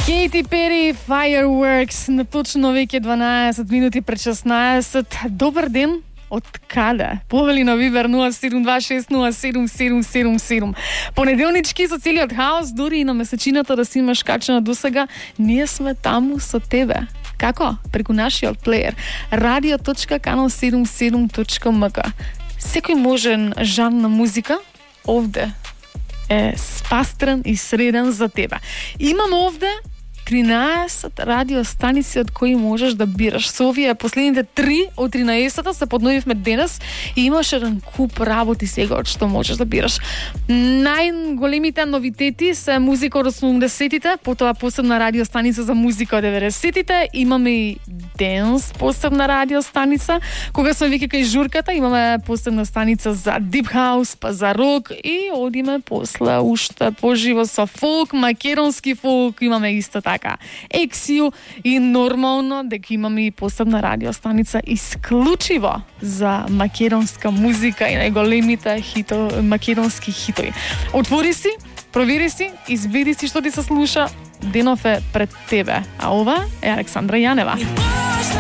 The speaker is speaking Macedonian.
Кейти Пери, Fireworks, на точно веќе 12 минути пред 16. Добар ден, од каде? Повели на Вибер 0726077777. Понеделнички со целиот хаос, дури и на месечината да си имаш качена досега, ние сме таму со тебе. Како? Преку нашиот плеер radio.canal77.mk. Секој можен жанр на музика овде е спастрен и среден за тебе. Имам овде 13 радиостаници од кои можеш да бираш. Со овие последните 3 од 13-та се подновивме денес и имаш еден куп работи сега од што можеш да бираш. Најголемите новитети се музика од 80-тите, потоа посебна радиостаница за музика од 90-тите, имаме и денс посебна радиостаница. Кога сме веќе кај журката, имаме посебна станица за дип хаус, па за рок и одиме после уште поживо со фолк, македонски фолк, имаме исто така Ексио и нормално дека имаме и посебна радиостаница исклучиво за македонска музика и најголемите македонски хитови. Отвори си, провери си, избери си што ти се слуша, денов е пред тебе. А ова е Александра Јанева.